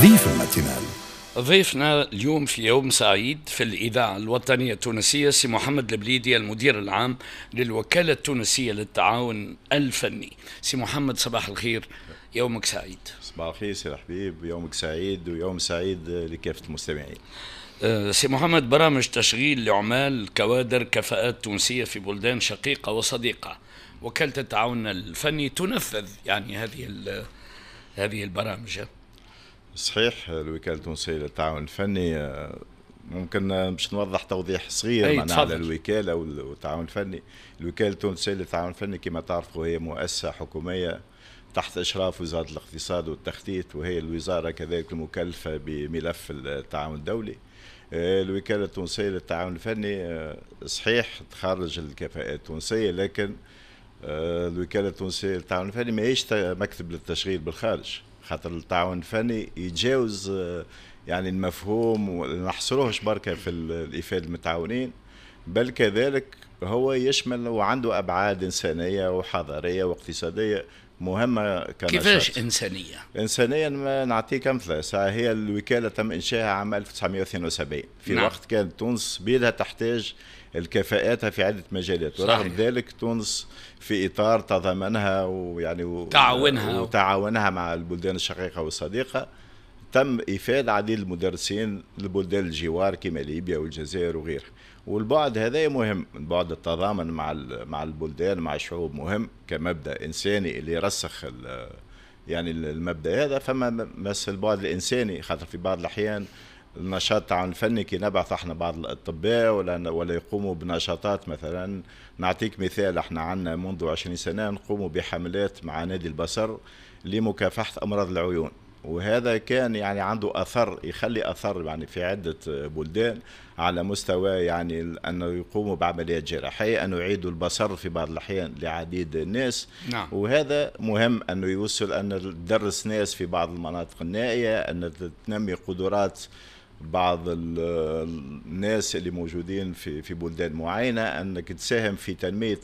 ضيف الماتينال. ضيفنا اليوم في يوم سعيد في الإذاعة الوطنية التونسية سي محمد البليدي، المدير العام للوكالة التونسية للتعاون الفني. سي محمد، صباح الخير، يومك سعيد. صباح الخير سي الحبيب، يومك سعيد ويوم سعيد لكافة المستمعين. سي محمد، برامج تشغيل لعمال كوادر كفاءات تونسية في بلدان شقيقة وصديقة، وكالة التعاون الفني تنفذ يعني هذه البرامج. صحيح، الوكالة التونسية للتعاون الفني، ممكن باش نوضح توضيح صغير معناها على الوكالة والتعاون الفني. الوكالة التونسية للتعاون الفني كما تعرفوا هي مؤسسة حكومية تحت إشراف وزارة الاقتصاد والتخطيط، وهي الوزارة كذلك المكلفة بملف التعاون الدولي. الوكالة التونسية للتعاون الفني صحيح تخرج الكفاءات التونسية، لكن الوكالة التونسية للتعاون الفني ماهيش مكتب للتشغيل بالخارج، خاطر التعاون الفني يتجاوز يعني المفهوم ونحصروهش بركة في الإفادة المتعاونين، بل كذلك هو يشمل وعنده أبعاد إنسانية وحضارية واقتصادية مهمة. كنشاط. كيفاش إنسانية؟ إنسانيا نعطيك أمثلة. هي الوكالة تم إنشائها عام 1972 في وقت كانت تونس بيدها تحتاج الكفاءات في عدة مجالات، ورغم ذلك تونس في إطار تضامنها ويعني وتعاونها مع البلدان الشقيقة والصديقة تم إفادة عديد المدرسين لبلدان الجوار كما ليبيا والجزائر وغيرها. والبعد هذا مهم، بعد التضامن مع البلدان مع الشعوب مهم كمبدأ إنساني اللي يرسخ يعني المبدأ هذا. فما بس البعد الإنساني، خاطر في بعض الأحيان النشاط التعاون الفني كي نبعث احنا بعض الأطباء ولا يقوموا بنشاطات، مثلا نعطيك مثال، احنا عندنا منذ 20 سنة نقوم بحملات مع نادي البصر لمكافحة أمراض العيون، وهذا كان يعني عنده أثر، يخلي أثر يعني في عدة بلدان على مستوى يعني أنه يقوموا بعمليات جراحية، أنه يعيدوا البصر في بعض الأحيان لعديد الناس. وهذا مهم أنه يوصل أن تدرس ناس في بعض المناطق النائية، أن تنمي قدرات بعض الناس اللي موجودين في بلدان معينة، أنك تساهم في تنمية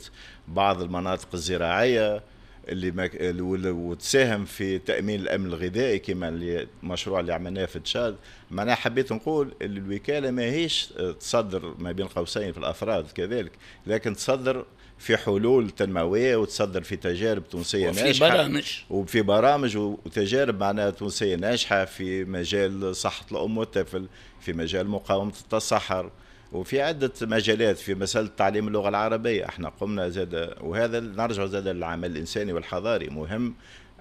بعض المناطق الزراعية اللي وتساهم في تأمين الأمن الغذائي كما المشروع اللي عملناه في تشاد. معناها حبيت نقول الوكالة ما هيش تصدر ما بين قوسين في الأفراد كذلك، لكن تصدر في حلول تنموية وتصدر في تجارب تونسية ناجحة وفي برامج وتجارب معناها تونسية ناجحة في مجال صحة الأم والطفل، في مجال مقاومة التصحر، وفي عدة مجالات. في مسألة تعليم اللغة العربية احنا قمنا زاد، وهذا نرجع زاد للعمل الإنساني والحضاري. مهم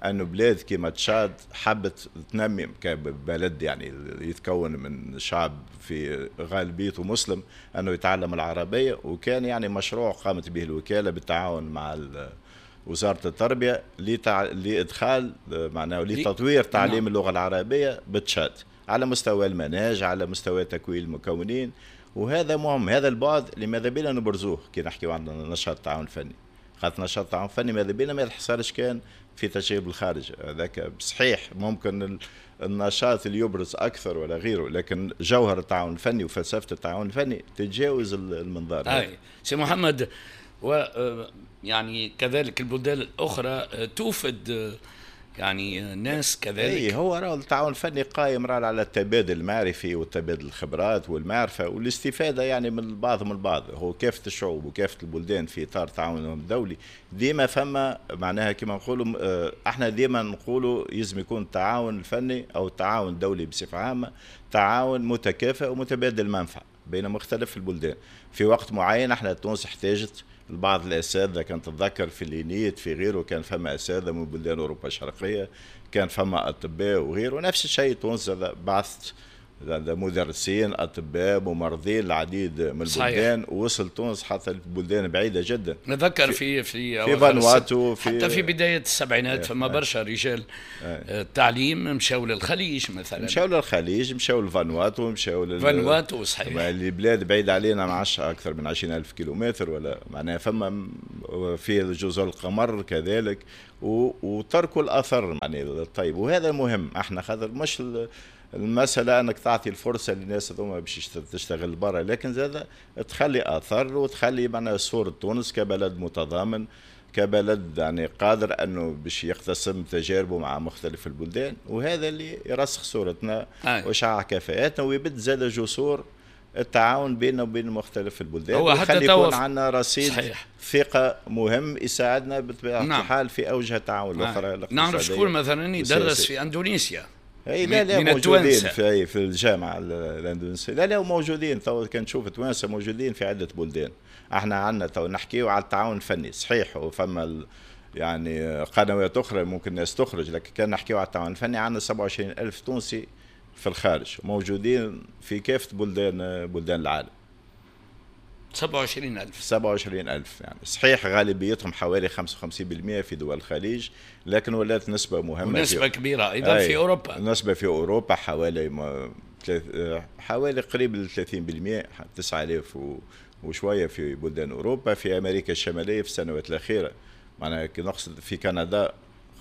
أنه بلاد كما تشاد حبت تنمي كبلد يعني يتكون من شعب في غالبيته مسلم أنه يتعلم العربية، وكان يعني مشروع قامت به الوكالة بالتعاون مع وزارة التربية لإدخال معناه لتطوير تعليم اللغة العربية بتشاد على مستوى المناهج، على مستوى تكوين المكونين. وهذا مهم، هذا البعد اللي ماذا بينا نبرزوه كي نحكيو عن نشاط التعاون الفني، خاطر نشاط التعاون الفني ماذا بينا ما يتحصرش كان في تشغيل الخارج. هذاك صحيح ممكن النشاط اللي يبرز اكثر ولا غيره، لكن جوهر التعاون الفني وفلسفة التعاون الفني تتجاوز المنظار. اي سي محمد، و يعني كذلك البلدان الاخرى توفد يعني ناس كذلك. اي هو راه التعاون الفني قائم راه على التبادل المعرفي وتبادل الخبرات والمعرفة والاستفادة يعني من البعض من البعض. هو كافة الشعوب وكافة البلدان في اطار تعاونهم الدولي ديما فما معناها كما نقولوا احنا ديما نقولوا لازم يكون التعاون الفني او التعاون الدولي بصفة عامة تعاون متكافئ ومتبادل المنفعة بين مختلف البلدان. في وقت معين احنا تونس احتاجت بعض الاساتذة، كان تتذكر في الينيت في غيره كان فما اساتذة من بلدان اوروبا الشرقية، كان فما اطباء وغيره. نفس الشيء تونس بعثت مدرسين اطباء ممرضين العديد من البلدان، ووصل تونس حتى البلدان بعيدة جدا. نتذكر في فانواتو، حتى في بداية السبعينات فما برشا رجال التعليم مشاو للخليج مثلا، مشاو للخليج، مشاو لفانواتو، مشاو فانواتو صحيح، البلاد بعيدة علينا ما عادش اكثر من 20,000 كيلومتر ولا معناها. فما في جزر القمر كذلك، وتركوا الاثر يعني الطيب. وهذا مهم احنا خاطر مش المسألة أنك تعطي الفرصة للناس هذوما باش تشتغل برا، لكن زاد تخلي آثار وتخلي معنا صورة تونس كبلد متضامن، كبلد يعني قادر انه باش يقتسم تجاربه مع مختلف البلدان، وهذا اللي يرسخ صورتنا ويشعع كفاءاتنا ويبد زاد جسور التعاون بيننا وبين مختلف البلدان، هو حتى ويخلي يكون عندنا رصيد صحيح. ثقة مهم يساعدنا بطبيعة الحال في أوجه التعاون الأخرى. نعرف شكون مثلا يدرس في أندونيسيا. اي لا لا موجودين في الجامعة الأندونيسية، لا لا موجودين تو كان تشوف توانسة موجودين في عدة بلدان. احنا عندنا تو نحكيو على التعاون الفني صحيح، وفما يعني قنوات أخرى ممكن الناس تخرج، لكن كان نحكيو على التعاون الفني عندنا 27,000 تونسي في الخارج موجودين في كافة بلدان العالم. 27,000 27,000 يعني صحيح غالبيتهم حوالي 55% في دول الخليج، لكن ولات نسبة مهمة، نسبة كبيرة أيضا في أوروبا. نسبة في أوروبا حوالي قريب ل 30%، 9,000 وشوية في بلدان أوروبا. في أمريكا الشمالية في السنوات الأخيرة، معناها نقصد في كندا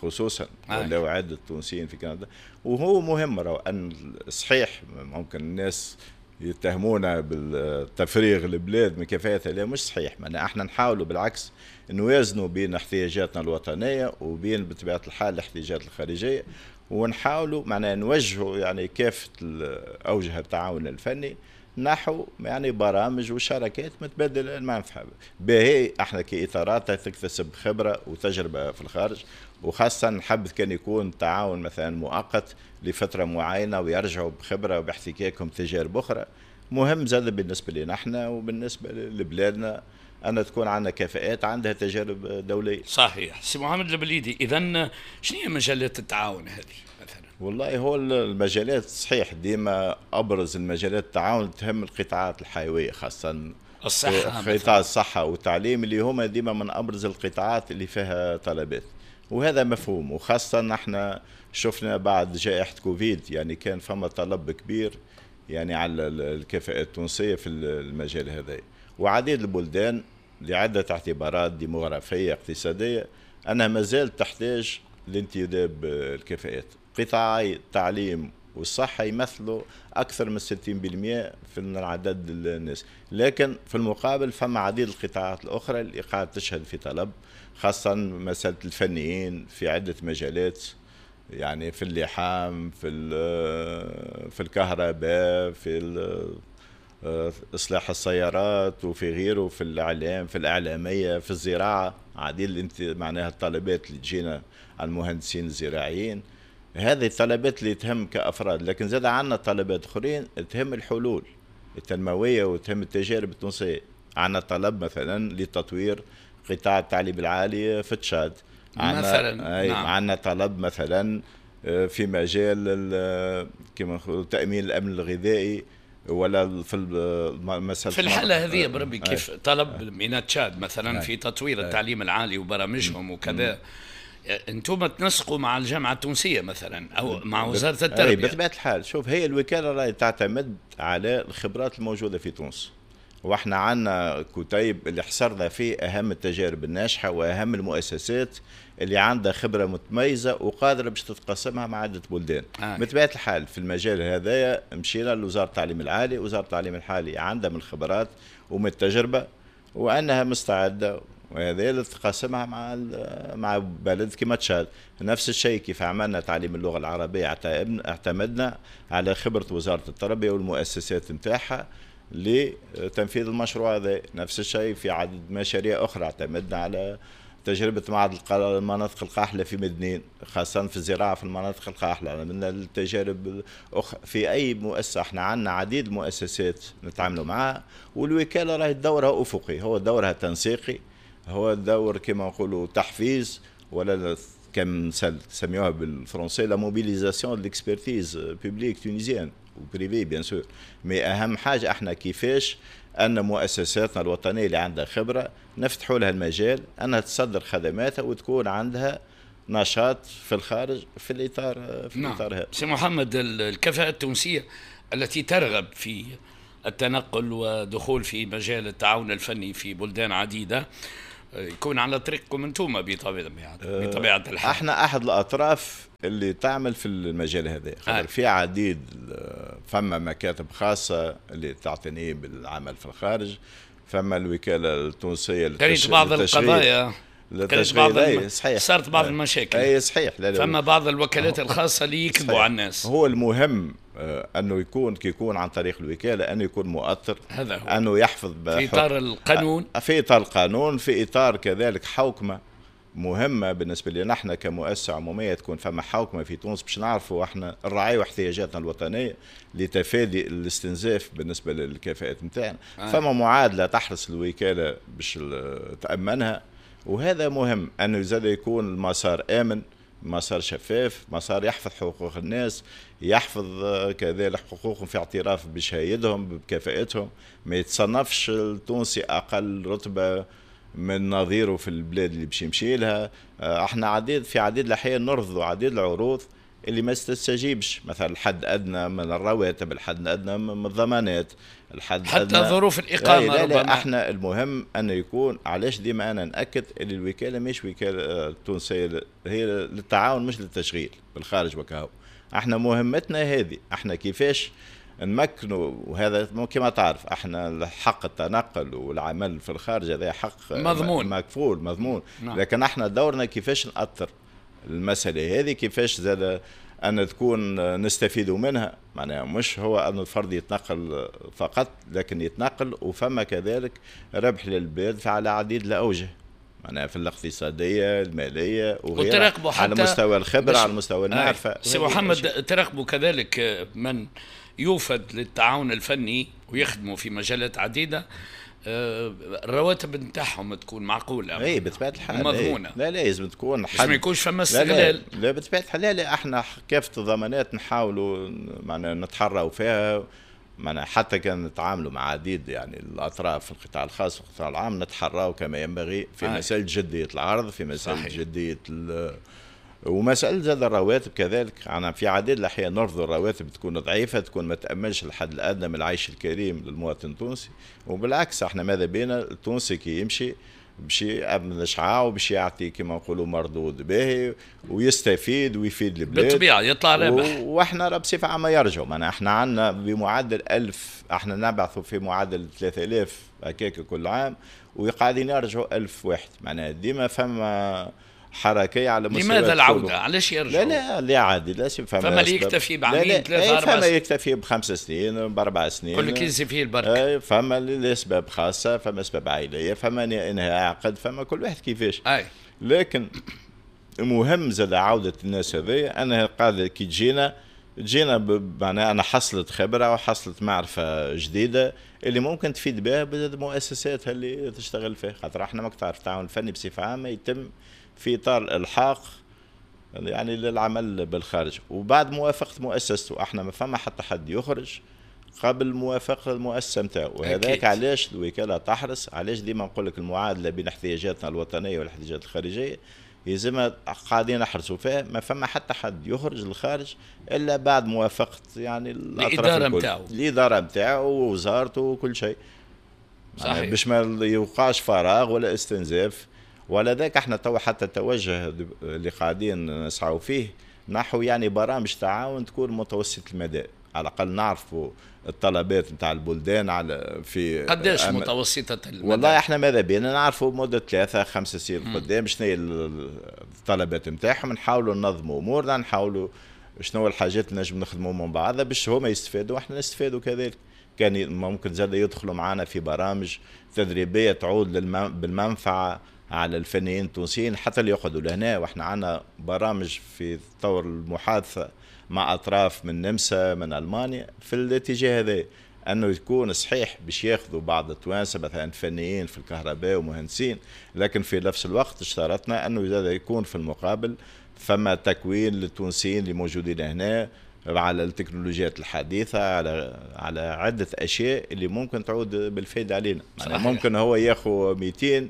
خصوصا، ولاو عدة تونسيين في كندا. وهو مهم راهو أن صحيح ممكن الناس يتهمونا بالتفريغ البلاد من كفاءتها، لا مش صحيح. معناها احنا نحاولوا بالعكس نوازنوا بين احتياجاتنا الوطنية وبين بطبيعة الحال الاحتياجات الخارجية، ونحاولوا معناها نوجهوا يعني كافة اوجه التعاون الفني نحو يعني برامج وشراكات متبادلة المنفعة. باهي احنا كإطارات تكتسب خبرة وتجربة في الخارج، وخاصة نحب كان يكون تعاون مثلا مؤقت لفترة معينة ويرجعوا بخبرة وباحتكاكهم تجارب أخرى. مهم زاد بالنسبة لنا احنا وبالنسبة لبلادنا أن تكون عندنا كفاءات عندها تجارب دولية. صحيح. سي محمد البليدي، إذن شنو هي مجالات التعاون هذه مثلا؟ والله هو المجالات صحيح ديما أبرز المجالات التعاون تهم القطاعات الحيوية، خاصة الصحة، قطاع الصحة والتعليم اللي هما ديما من أبرز القطاعات اللي فيها طلبات، وهذا مفهوم. وخاصة نحن شفنا بعد جائحة كوفيد يعني كان فما طلب كبير يعني على الكفاءات التونسية في المجال هذا، وعديد البلدان لعدة اعتبارات ديموغرافية اقتصادية أنها ما زالت تحتاج لانتداب الكفاءات. قطاعي التعليم والصحة يمثلوا أكثر من 60% في عدد الناس، لكن في المقابل فما عديد القطاعات الأخرى اللي قاعدة تشهد في طلب، خاصة مسألة الفنيين في عدة مجالات، يعني في اللحام، في الكهرباء، في إصلاح السيارات وفي غيره، في الإعلام، في الإعلامية، في الزراعة. عديد معناها الطلبات اللي تجينا على المهندسين الزراعيين، هذه الطلبات اللي تهم كأفراد، لكن زاد عندنا طلبات أخرين تهم الحلول التنموية وتهم التجارب التونسية. عندنا طلب مثلا لتطوير قطاع التعليم العالي في تشاد مثلا، نعم. عندنا طلب مثلا في مجال كما تأمين الأمن الغذائي، ولا في المسألة في الحالة هذه بربي كيف طلب من تشاد مثلا في تطوير التعليم العالي وبرامجهم وكذا، انتم تنسقوا مع الجامعة التونسية مثلا او مع وزارة التربية؟ بطبيعة الحال. شوف، هي الوكالة راهي تعتمد على الخبرات الموجودة في تونس، واحنا عندنا كتيب اللي حصرنا فيه اهم التجارب الناجحة واهم المؤسسات اللي عندها خبره متميزة وقادرة باش تتقاسمها مع عده بلدان. بطبيعة الحال في المجال هذايا مشينا لوزارة التعليم العالي، وزارة التعليم العالي عندها من الخبرات ومن التجربة وانها مستعدة، وهذا اللي تقاسمها مع بلد كما تشاد. نفس الشيء كيف عملنا تعليم اللغة العربية، اعتمدنا على خبره وزارة التربية والمؤسسات نتاعها لتنفيذ المشروع هذا. نفس الشيء في عدد مشاريع أخرى، اعتمدنا على تجربة معهد المناطق القاحلة في مدنين، خاصة في الزراعة في المناطق القاحلة. عملنا التجارب في أي مؤسسة، احنا عندنا عديد المؤسسات نتعاملوا معها، والوكالة راهي دورها أفقي، هو دورها تنسيقي، هو دور كما نقولوا تحفيز، ولا كم سميوها بالفرنسي la mobilisation de l'expertise publique tunisienne و privée bien sûr. mais اهم حاجة احنا كيفاش ان مؤسساتنا الوطنية اللي عندها خبره نفتحوا لها المجال انها تصدر خدماتها وتكون عندها نشاط في الخارج في الاطار في الاطار هذا. سي محمد، الكفاءة التونسية التي ترغب في التنقل ودخول في مجال التعاون الفني في بلدان عديدة يكون على طريقكم انتم بطبيعة الحال. احنا احد الاطراف اللي تعمل في المجال هذا، خاطر في عديد، فما مكاتب خاصة اللي تعتني بالعمل في الخارج، فما الوكالة التونسية للتشغيل، بعض القضايا للتشغيل. صحيح صارت بعض المشاكل. اي صحيح. لا لا، فما بعض الوكالات الخاصة اللي يكذبوا على الناس. هو المهم انه يكون كي يكون عن طريق الوكالة انه يكون مؤطر، هذا هو. انه يحفظ في اطار القانون، في اطار القانون، في اطار كذلك حوكمة مهمة بالنسبة لنا احنا كمؤسسة عموميه، تكون فما حوكمة في تونس باش نعرفوا احنا نراعيوا احتياجاتنا الوطنية لتفادي الاستنزاف بالنسبة للكفاءات نتاعنا. فما معادلة تحرص الوكالة باش تامنها، وهذا مهم انه زاد يكون المسار امن، مسار شفاف، مسار يحفظ حقوق الناس، يحفظ كذلك حقوقهم في اعتراف بشهايدهم بكفاءتهم، ما يتصنفش التونسي اقل رتبه من نظيره في البلاد اللي باش يمشي لها. احنا في عديد الاحيان نرفضوا عديد العروض اللي ما تستجيبش، مثلا الحد ادنى من الرواتب، الحد الادنى من الضمانات، الحد حتى أدنى ظروف الاقامة. لا لا، احنا المهم انه يكون، علاش ديما انا ناكد اللي الوكالة مش وكالة تونسية، هي للتعاون مش للتشغيل بالخارج وكهو. احنا مهمتنا هذه، احنا كيفاش نمكنوا، وهذا كما تعرف احنا حق التنقل والعمل في الخارج هذا حق مضمون، مكفول مضمون. نعم. لكن احنا دورنا كيفاش نأثر المسألة هذه، كيفاش زاد أن تكون نستفيد منها، معناها مش هو أن الفرد يتنقل فقط، لكن يتنقل وفما كذلك ربح للبلاد على عديد الأوجه، معناها في الاقتصادية المالية وغيرها، على مستوى الخبرة، على مستوى المعرفة. سي محمد، تراقبوا كذلك من يوفد للتعاون الفني ويخدموا في مجالات عديدة، الرواتب نتاعهم تكون معقولة. اي بطبيعة الحال مضمونه. لا لا، لازم تكون حد ما يكونش فما استغلال. لا, لا بطبيعة الحال. لا لا، احنا كافة الضمانات نحاولوا معنا نتحروا فيها، معنا حتى كان نتعاملوا مع عديد يعني الاطراف في القطاع الخاص والقطاع العام، نتحراو كما ينبغي في مسألة جدية العرض، في مسألة جدية ومسألة زاد الرواتب كذلك. أنا في عديد الأحيان نرفض الرواتب تكون ضعيفة، تكون ما تأمنش الحد الأدنى من العيش الكريم للمواطن التونسي، وبالعكس احنا ماذا بينا التونسي كي يمشي باش يأمن شعاع وباش يعطي كما نقولوا مردود باهي ويستفيد ويفيد البلاد بالطبيعة، يطلع رابح. واحنا راه بصفة عامة يرجعوا، معناها احنا عندنا بمعدل 1000، احنا نبعثوا في معدل 3000 هكاك كل عام، وقاعدين يرجعوا 1000 واحد، معناها ديما فما حركية على مستوى. لماذا العودة؟ علاش يرجعوا؟ لا لا لا عادي، لا فما اللي يكتفي بعامين ثلاثة أربع فما يكتفي ب5 سنين ب4 سنين، كل كيس فيه البركة. فما لأسباب خاصة، فما أسباب عائلية، فما إنهاء عقد، فما كل واحد كيفاش. لكن المهم زاد عودة الناس هذيا، أنا قاعدة كي تجينا معناها أنا حصلت خبرة وحصلت معرفة جديدة اللي ممكن تفيد بها المؤسسات اللي تشتغل فيها، خاطر احنا ماك تعرف التعاون الفني بصفة عامة يتم في إطار الإلحاق يعني للعمل بالخارج وبعد موافقة مؤسسته. احنا ما فما حتى حد يخرج قبل موافقة المؤسسة نتاعو، وهذاك علاش الوكالة تحرص، علاش ديما نقول لك المعادلة بين احتياجاتنا الوطنية والاحتياجات الخارجية يلزمها قاعدين نحرصوا فيها، ما فما حتى حد يخرج للخارج إلا بعد موافقة يعني الإدارة نتاعو، الإدارة نتاعو ووزارته وكل شيء. صحيح. يعني باش ما يوقعش فراغ ولا استنزاف ولا ذاك. احنا تو حتى التوجه اللي قاعدين نسعوا فيه نحو يعني برامج تعاون تكون متوسط المدى، على الاقل نعرفوا الطلبات نتاع البلدان على في قداش متوسطة المدى. والله احنا ماذا بينا نعرفوا مدة 3 5 سنين قدام شنو هي الطلبات نتاعهم، نحاولوا ننظموا امورنا، نحاولوا شنو الحاجات اللي نجم نخدموا من بعضها باش هما يستفادوا واحنا نستفادوا كذلك. كان ممكن زاد يدخلوا معنا في برامج تدريبية تعود بالمنفعة على الفنيين التونسيين حتى اللي يقعدوا لهنا، واحنا عندنا برامج في طور المحادثة مع أطراف من النمسا من ألمانيا في الاتجاه هذا، أنه يكون صحيح باش ياخذوا بعض التوانسة مثلا فنيين في الكهرباء ومهندسين، لكن في نفس الوقت اشترطنا أنه يكون في المقابل فما تكوين للتونسيين اللي موجودين هنا على التكنولوجيات الحديثة، على عدة أشياء اللي ممكن تعود بالفائدة علينا. يعني ممكن هو ياخذ 200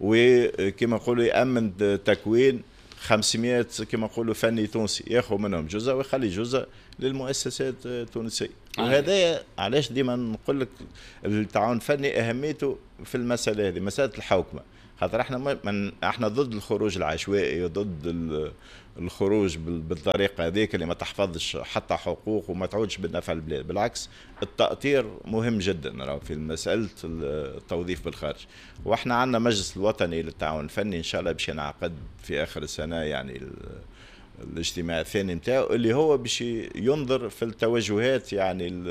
وكما نقولوا يأمن تكوين 500 كما نقولوا فني تونسي، ياخذ منهم جزء ويخلي جزء للمؤسسات التونسية. وهذا علاش ديما نقول لك التعاون الفني أهميته في المسألة هذه، مسألة الحوكمة، خاطر احنا احنا ضد الخروج العشوائي وضد الخروج بالطريقة هذيك اللي ما تحفظش حتى حقوق وما تعودش بالنفع البلاد. بالعكس التأطير مهم جدا في مسألة التوظيف بالخارج. واحنا عندنا مجلس الوطني للتعاون الفني ان شاء الله باش ينعقد في اخر السنة، يعني الاجتماع الثاني نتاعو اللي هو باش ينظر في التوجهات يعني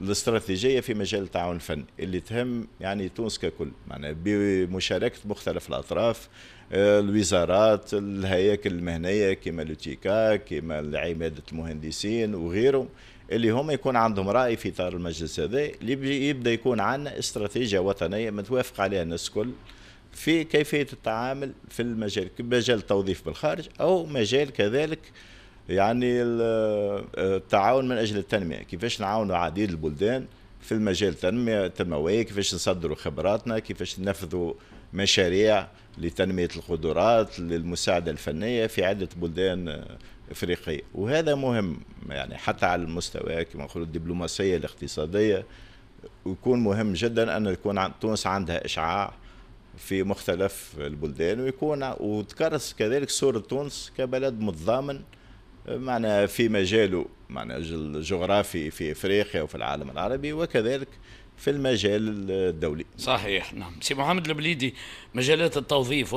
الاستراتيجية في مجال التعاون الفني اللي تهم يعني تونس ككل، معناها بمشاركة مختلف الأطراف، الوزارات، الهياكل المهنية كما l'UTICA، كما عمادة المهندسين وغيرهم، اللي هم يكون عندهم رأي في إطار المجلس هذا اللي يبدأ يكون عندنا استراتيجية وطنية متوافق عليها الناس الكل في كيفية التعامل في المجال، مجال التوظيف بالخارج أو مجال كذلك يعني التعاون من أجل التنمية، كيفاش نعاونوا عديد البلدان في المجال التنمية التنموية، كيفاش نصدروا خبراتنا، كيفاش ننفذوا مشاريع لتنمية القدرات، للمساعدة الفنية في عدة بلدان إفريقية. وهذا مهم يعني حتى على المستوى كما نقولوا الدبلوماسية الاقتصادية، ويكون مهم جدا أن يكون تونس عندها إشعاع في مختلف البلدان، ويكون وتكرس كذلك صورة تونس كبلد متضامن معنا في مجاله، معنا الجغرافي في افريقيا وفي العالم العربي وكذلك في المجال الدولي. صحيح، نعم. سي محمد البليدي، مجالات التوظيف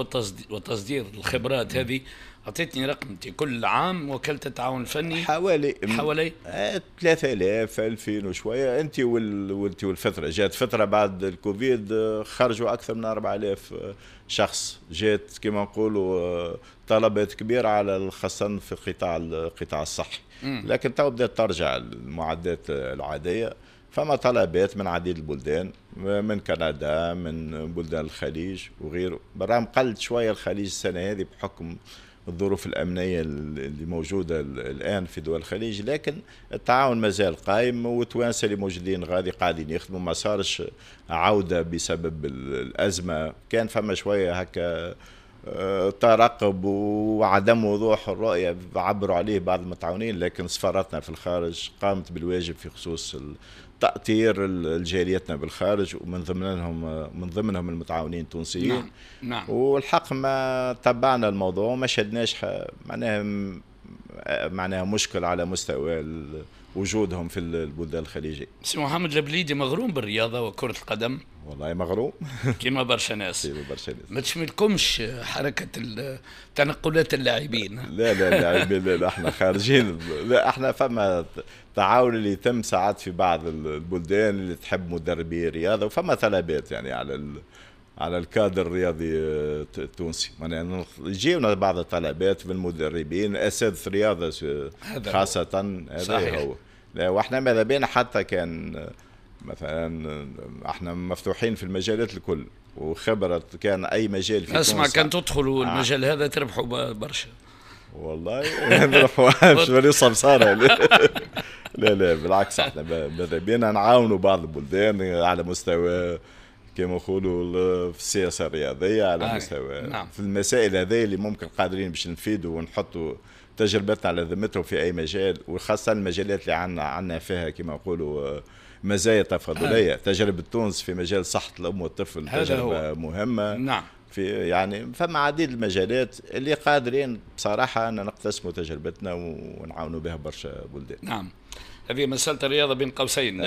وتصدير الخبرات هذه اعطيتني رقم كل عام وكالة التعاون الفني حوالي 3000 2000 وشوية. انت والفترة جات فترة بعد الكوفيد خرجوا اكثر من 4000 شخص، جات كما نقولوا طلبات كبيرة على خاصة في القطاع الصحي، لكن تو بدات ترجع المعدات العادية. فما طلبات من عديد البلدان، من كندا، من بلدان الخليج وغيره. بالرغم قلت شوية الخليج السنة هذه بحكم الظروف الأمنية اللي موجودة الآن في دول الخليج، لكن التعاون مازال قائم، والتوانسة اللي موجودين غادي قاعدين يخدموا، ما صارش عودة بسبب الأزمة. كان فما شوية هكا ترقب وعدم وضوح الرؤية عبروا عليه بعض المتعاونين، لكن سفارتنا في الخارج قامت بالواجب في خصوص تأطير الجاليتنا بالخارج، ومن ضمنهم المتعاونين التونسيين. نعم. نعم. والحق ما تبعنا الموضوع وما شدناش معناها مشكل على مستوى وجودهم في البلدان الخليجية. سي محمد البليدي مغروم بالرياضة وكرة القدم. والله مغروم كما برشا ناس. ما تشملكمش حركة تنقلات اللاعبين؟ لا لا اللاعبين لا, احنا خارجين. لا احنا فما تعاون اللي يتم ساعات في بعض البلدان اللي تحب مدربي رياضة، وفما طلبات يعني على الكادر الرياضي التونسي، يعني يجيونا بعض الطلبات من المدربين اساتذة رياضة خاصة. هذا هو. لا واحنا ماذا بينا حتى كان مثلا احنا مفتوحين في المجالات الكل وخبرة كان اي مجال في اسمع كان تدخلوا المجال هذا تربحوا برشا. والله نربحوا مش ولي صمصارة. لا لا بالعكس، احنا ماذا بينا نعاونوا بعض البلدان على مستوى كما نقولوا في السياسة الرياضية، على مستوى نعم. في المسائل هذه اللي ممكن قادرين باش نفيدوا ونحطوا تجربتنا على ذمتهم في اي مجال، وخاصة المجالات اللي عندنا فيها كما نقولوا مزايا تفاضليه. تجربه تونس في مجال صحة الام والطفل تجربه مهمة. نعم. في يعني فما عديد المجالات اللي قادرين بصراحة ان نقتسموا تجربتنا ونعاونوا بها برشا بلدان. نعم. هذه مسألة الرياضة بين قوسين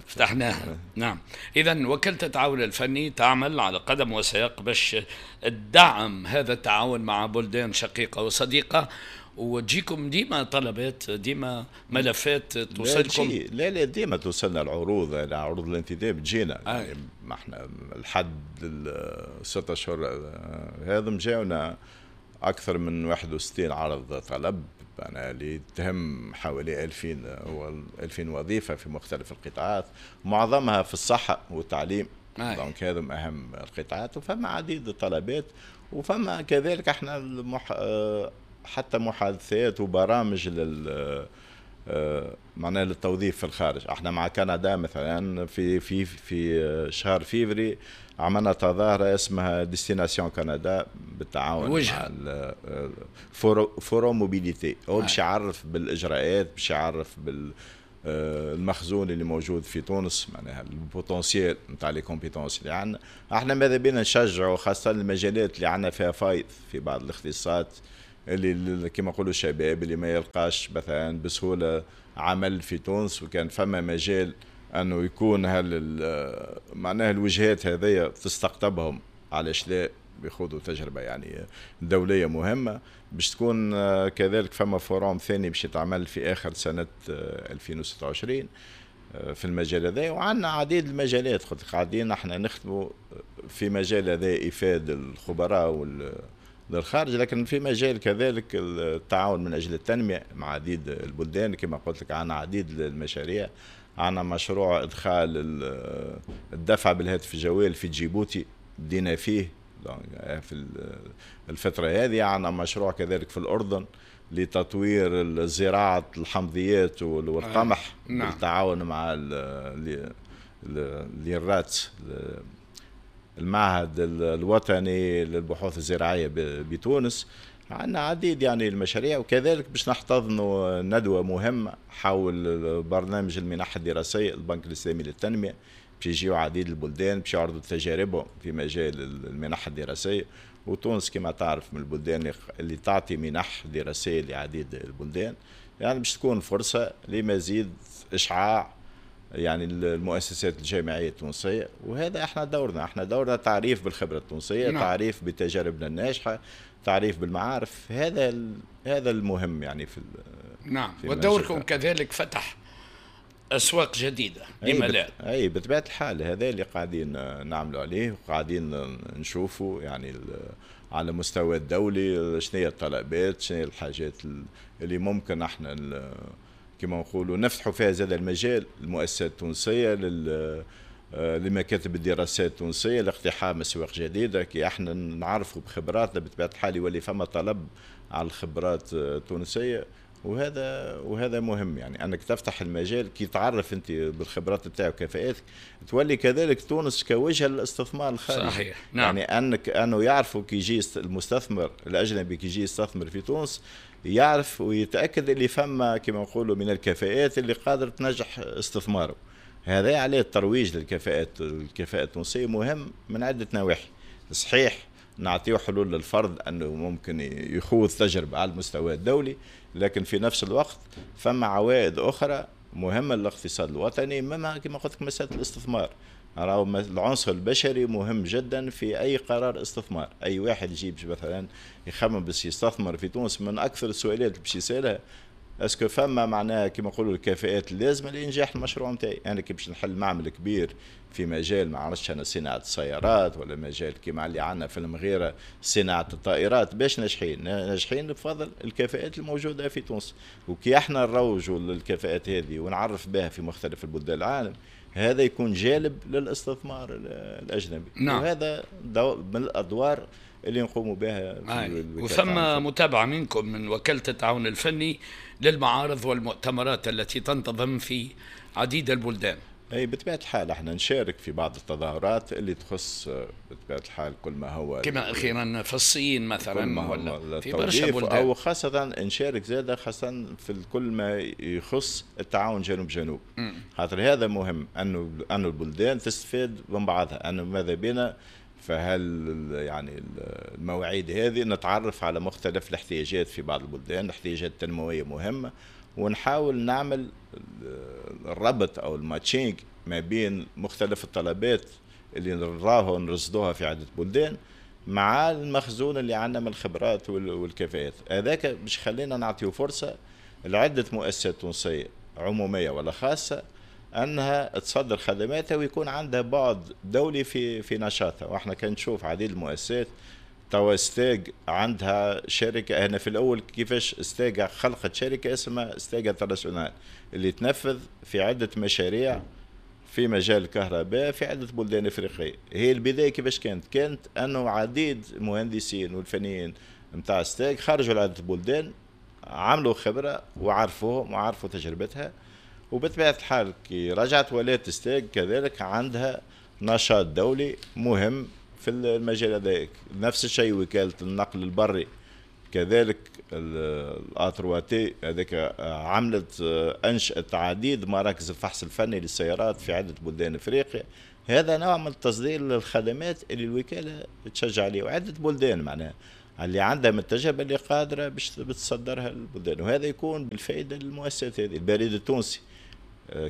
فتحناها. نعم. إذا وكالة التعاون الفني تعمل على قدم وساق باش تدعم هذا التعاون مع بلدان شقيقة وصديقة، وتجيكم ديما طلبات، ديما ملفات توصلكم؟ لا لا ديما توصلنا العروض، عروض الانتداب تجينا. يعني ما احنا لحد الست اشهر هذا جاونا اكثر من 61 عرض طلب أنا اللي تهم حوالي 2000 وظيفة في مختلف القطاعات، معظمها في الصحة والتعليم. donc هذا أهم القطاعات، وفما عديد الطلبات، وفما كذلك احنا حتى محادثات وبرامج معناها للتوظيف في الخارج. احنا مع كندا مثلا في في في شهر فيفري عملنا تظاهرة اسمها Destination Canada بالتعاون مع Forum Mobilité. هو باش يعرف بالاجراءات، باش يعرف بالمخزون اللي موجود في تونس، معناها ال potentiel نتاع les compétences اللي عندنا. احنا ماذا بينا نشجعوا خاصة المجالات اللي عندنا فيها فايض في بعض الاختصاصات اللي كما نقولوا الشباب اللي ما يلقاش مثلا بسهولة عمل في تونس، وكان فما مجال انه يكون هل معناها الوجهات هذيا تستقطبهم، علاش لا بيخوضوا تجربه يعني دولية مهمة. باش تكون كذلك فما forum ثاني باش يتعمل في اخر سنة 2026 في المجال هذا. وعندنا عديد المجالات، قاعدين احنا نخدموا في مجال هذا افاده الخبراء للخارج، لكن في مجال كذلك التعاون من اجل التنمية مع عديد البلدان. كما قلت لك عندنا عديد المشاريع، عندنا مشروع ادخال الدفع بالهاتف الجوال في جيبوتي بدينا فيه في الفترة هذه. عندنا مشروع كذلك في الأردن لتطوير زراعة الحمضيات والقمح. نعم. بالتعاون مع الرات، المعهد الوطني للبحوث الزراعية بتونس. عندنا عديد يعني المشاريع، وكذلك باش نحتضنوا ندوة مهمة حول برنامج المنح الدراسية البنك الإسلامي للتنمية، باش يجيو عديد البلدان باش يعرضوا تجاربهم في مجال المنح الدراسية. وتونس كما تعرف من البلدان اللي تعطي منح دراسية لعديد البلدان، يعني باش تكون فرصة لمزيد إشعاع يعني المؤسسات الجامعية التونسية. وهذا احنا دورنا، احنا دورنا تعريف بالخبرة التونسية. نعم. تعريف بتجاربنا الناجحة، تعريف بالمعارف، هذا المهم يعني في نعم. في ودوركم كذلك فتح أسواق جديدة، لما لا؟ أي بطبيعة الحال هذا اللي قاعدين نعملوا عليه، وقاعدين نشوفوا يعني على مستوى الدولي شنو هي الطلبات، شنو هي الحاجات اللي ممكن احنا كما نقولوا نفتحوا فيها زاد المجال المؤسسات التونسية لمكاتب الدراسات التونسية لاقتحام أسواق جديدة. كي احنا نعرفوا بخبراتنا بطبيعة الحال يولي فما طلب على الخبرات التونسية، وهذا مهم يعني انك تفتح المجال كي تعرف انت بالخبرات بتاعك وكفاءاتك، تولي كذلك تونس كوجهه للاستثمار الخارجي. صحيح. نعم. يعني انه يعرفوا كي يجي المستثمر الاجنبي كي يجي يستثمر في تونس يعرف ويتاكد اللي فما كما نقولوا من الكفاءات اللي قادر تنجح استثماره. هذا عليه الترويج للكفاءات، الكفاءة التونسية مهم من عده نواحي. صحيح نعطيه حلول للفرد انه ممكن يخوض تجربه على المستوى الدولي، لكن في نفس الوقت فما عوائد اخرى مهمة للاقتصاد الوطني، مما كما قلت لك مسالة الاستثمار. راهو العنصر البشري مهم جدا في اي قرار استثمار. اي واحد يجيب مثلا يخمم باش يستثمر في تونس، من اكثر السؤالات اللي باش يسالها est-ce que فما معناها كما نقولوا الكفاءات اللازمة لانجاح المشروع نتاعي. انا كي باش نحل معمل كبير في مجال ما عرفتش انا صناعة السيارات، ولا مجال كيما اللي عندنا في المغيرة صناعة الطائرات، باش ناجحين بفضل الكفاءات الموجودة في تونس. وكي احنا نروجوا للكفاءات هذه ونعرف بها في مختلف البلدان العالم، هذا يكون جالب للاستثمار الاجنبي. نعم. وهذا من الادوار اللي نقوموا بها. وثم متابعة منكم من وكالة التعاون الفني للمعارض والمؤتمرات التي تنتظم في عديد البلدان. اي بطبيعة الحال احنا نشارك في بعض التظاهرات اللي تخص بطبيعة الحال كل ما هو كما اخيرا في الصين مثلا، ولا في برشا بلدان، او خاصة نشارك زاده خاصة في كل ما يخص التعاون جنوب جنوب. خاطر هذا مهم انه البلدان تستفاد من بعضها، انه ماذا بينا فهل يعني المواعيد هذه نتعرف على مختلف الاحتياجات في بعض البلدان، الاحتياجات التنموية مهمة، ونحاول نعمل الربط او ال matching ما بين مختلف الطلبات اللي نراها ونرصدوها في عده بلدان مع المخزون اللي عندنا من الخبرات والكفاءات. هذاك باش خلينا نعطيو فرصة لعدة مؤسسات تونسية عموميه ولا خاصة انها تصدر خدماتها ويكون عندها بعد دولي في نشاطها. واحنا كان نشوف عديد المؤسسات توا STEG عندها شركة. هنا في الاول كيفاش STEG خلقت شركة اسمها STEG International اللي تنفذ في عده مشاريع في مجال الكهرباء في عده بلدان افريقية. هي البداية كيفاش كانت انه عديد المهندسين والفنيين نتاع STEG خرجوا لعدة بلدان، عملوا خبره وعرفوهم وعرفوا تجربتها، وبطبيعة الحال كي رجعت ولات STEG كذلك عندها نشاط دولي مهم في المجال هذاك. نفس الشيء وكالة النقل البري كذلك ال A3T هذاك عملت انشأت عديد مراكز الفحص الفني للسيارات في عده بلدان افريقيا. هذا نوع من التصدير للخدمات اللي الوكالة تشجع عليه، وعده بلدان معناها اللي عندها من التجربة اللي قادرة باش تصدرها للبلدان، وهذا يكون بالفائدة للمؤسسات هذه. البريد التونسي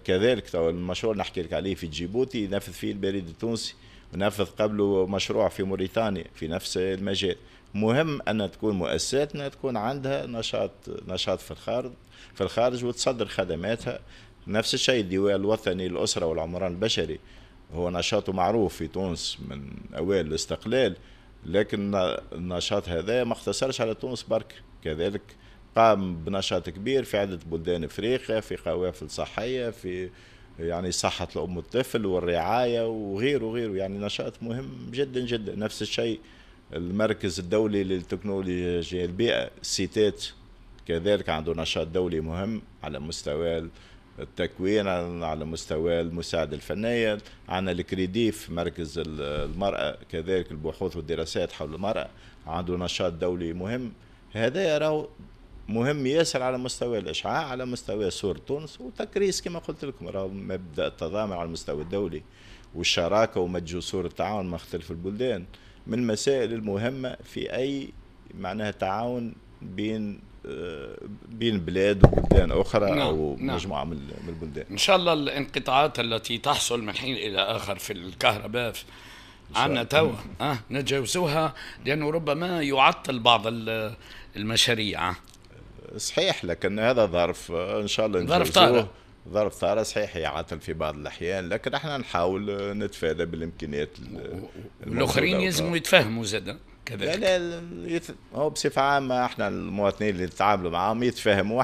كذلك، تو المشروع نحكي لك عليه في جيبوتي ينفذ فيه البريد التونسي، ونفذ قبله مشروع في موريتانيا في نفس المجال. مهم أن تكون مؤسساتنا تكون عندها نشاط في الخارج وتصدر خدماتها. نفس الشيء الديوان الوطني للأسرة والعمران البشري، هو نشاطه معروف في تونس من أوائل الاستقلال، لكن النشاط هذا ما اقتصرش على تونس برك، كذلك قام بنشاط كبير في عدة بلدان افريقيا، في قوافل صحية، في يعني صحة الأم والطفل والرعاية وغيره وغيره، يعني نشاط مهم جدا جدا. نفس الشيء المركز الدولي للتكنولوجيا البيئة سيتات، كذلك عنده نشاط دولي مهم على مستوى التكوين، على مستوى المساعدة الفنية. عندنا الكريديف مركز المرأة، كذلك البحوث والدراسات حول المرأة، عنده نشاط دولي مهم. هذا يراه مهم ياسر على مستوى الإشعاع، على مستوى صورة تونس وتكريس كما قلت لكم، راهو مبدأ التضامن على المستوى الدولي والشراكة ومد جسور التعاون مع مختلف البلدان من المسائل المهمة في أي معناها تعاون بين بلاد وبلدان أخرى. نعم، أو مجموعة من البلدان. إن شاء الله الانقطاعات التي تحصل من حين إلى آخر في الكهرباء عنا توا نتجاوزوها، لأنه ربما يعطل بعض المشاريع. صحيح، لكن هذا ظرف إن شاء الله نتجاوزوه. ظرف طارئ صحيح يعطل في بعض الأحيان، لكن احنا نحاول نتفادى بالإمكانيات. الآخرين يلزموا يتفهموا زادا كذلك. لا لا، هو بصفة عامة احنا المواطنين اللي نتعاملوا معاهم يتفاهموا،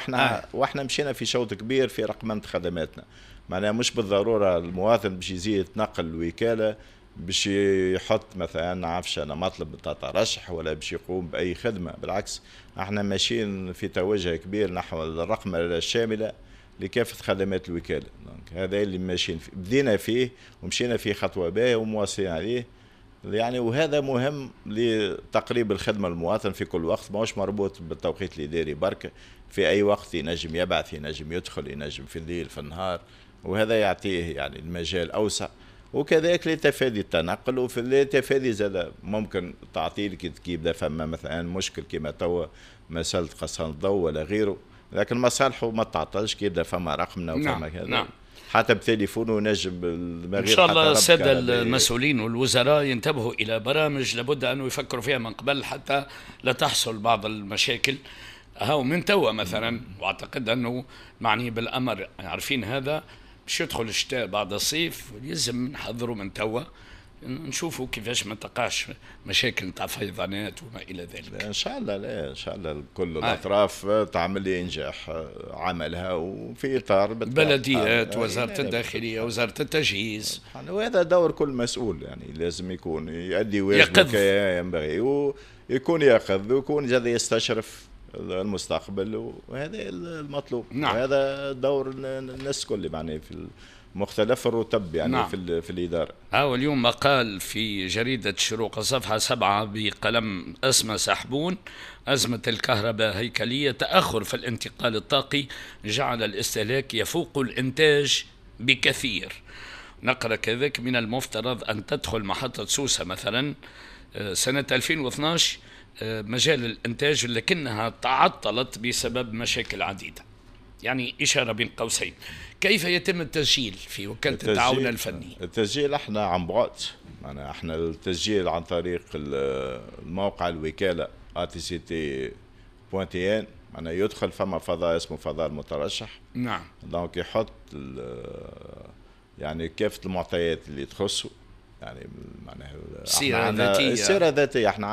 واحنا مشينا في شوط كبير في رقمنة خدماتنا. معناها مش بالضرورة المواطن باش يزيد يتنقل الوكالة باش يحط مثلا عفش انا مطلب نتاع ترشح ولا باش يقوم باي خدمة، بالعكس احنا ماشيين في توجه كبير نحو الرقمنة الشاملة لكافة خدمات الوكالة. هذا اللي ماشيين فيه، بدينا فيه ومشينا فيه خطوة باهية ومواصلين عليه يعني. وهذا مهم لتقريب الخدمة للمواطن في كل وقت، ماهوش مربوط بالتوقيت الإداري برك، في أي وقت ينجم يبعث، ينجم يدخل، ينجم في الليل في النهار، وهذا يعطيه يعني المجال أوسع. وكذلك لتفادي التنقل، وفي لتفادي زاد ممكن تعطيل كي يبدا فما مثلا مشكل كما توا مسألة قصان الضوء ولا غيره، لكن مصالحه ما تعطلش كي يبدا فما رقمنا وفما كذا. نعم. حتى بتليفونه نجم. إن شاء الله السادة المسؤولين والوزراء ينتبهوا إلى برامج لابد أنه يفكروا فيها من قبل حتى لا تحصل بعض المشاكل. هاو من توا مثلا، وأعتقد أنه معني بالأمر عارفين هذا، باش يدخل الشتاء بعد الصيف لازم نحضروا من توا، نشوفوا كيفاش ما تقعش مشاكل نتاع فيضانات وما الى ذلك. ان شاء الله، لا ان شاء الله كل الاطراف تعمل لانجاح عملها وفي اطار بلديات، وزارة الداخلية، وزارة التجهيز. وهذا دور كل مسؤول، يعني لازم يكون يؤدي واجبه كما ينبغي، ويكون يقظ ويكون زاد يستشرف المستقبل، وهذا المطلوب. نعم. وهذا دور الناس كل يعني في مختلف الرتب يعني. نعم. في الإدارة. اليوم مقال في جريدة الشروق صفحة 7 بقلم أسماء سحبون: أزمة الكهرباء هيكلية، تأخر في الانتقال الطاقي جعل الاستهلاك يفوق الإنتاج بكثير. نقرأ كذلك: من المفترض أن تدخل محطة سوسة مثلا سنة 2012 مجال الإنتاج، لكنها تعطلت بسبب مشاكل عديدة. يعني إشارة بين قوسين. كيف يتم التسجيل في وكالة التعاون الفني؟ التسجيل احنا عن بعد، يعني احنا التسجيل عن طريق الموقع الوكالة atct.tn، معناها يدخل فما فضاء اسمه فضاء المترشح. نعم. donc يحط يعني كافة المعطيات اللي تخصه، يعني معناها السيرة الذاتية. السيرة الذاتية احنا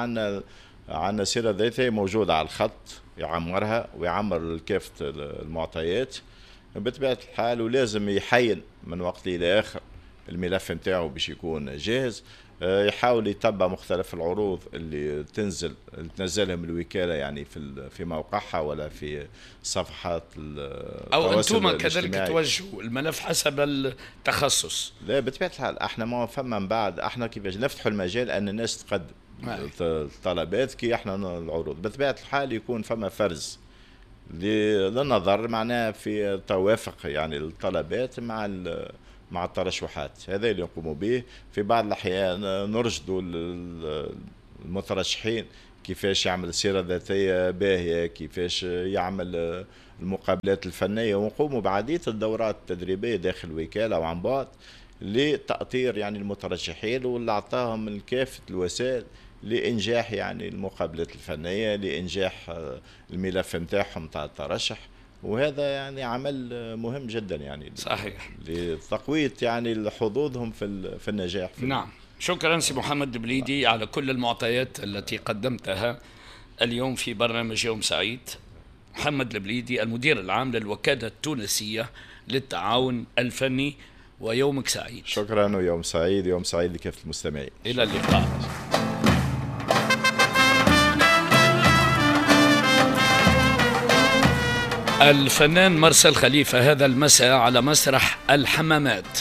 عندنا سيرة ذاتية موجودة على الخط، يعمرها ويعمر كافة المعطيات بطبيعة الحال، ولازم يحين من وقت إلى آخر الملف نتاعو باش يكون جاهز. يحاول يتبع مختلف العروض اللي تنزل اللي تنزلها من الوكالة، يعني في موقعها ولا في صفحات أو أنتم كذلك توجهوا الملف حسب التخصص. لا بطبيعة الحال احنا ما فما من بعد احنا كيفاش نفتحوا المجال أن الناس تقدم الطلبات كي احنا العروض. بطبيعة الحال يكون فما فرز للنظر معناها في توافق يعني الطلبات مع الترشحات، هذا اللي نقوموا به. في بعض الأحيان نرشدوا المترشحين كيفاش يعمل سيرة ذاتية باهية، كيفاش يعمل المقابلات الفنية، ونقوموا بعديد الدورات التدريبية داخل الوكالة وعن بعد لتأطير يعني المترشحين واللي أعطاهم من كافة الوسائل لإنجاح يعني المقابلات الفنية، لإنجاح الملف نتاعهم تاع الترشح. وهذا يعني عمل مهم جدا يعني صحيح لتقوية يعني حظوظهم في النجاح. في نعم، شكرا سي محمد البليدي على كل المعطيات التي قدمتها اليوم في برنامج يوم سعيد. محمد البليدي المدير العام للوكالة التونسية للتعاون الفني، ويومك سعيد. شكرا ويوم سعيد، يوم سعيد لكافة المستمعين. إلى اللقاء. الفنان مارسيل خليفة هذا المساء على مسرح الحمامات.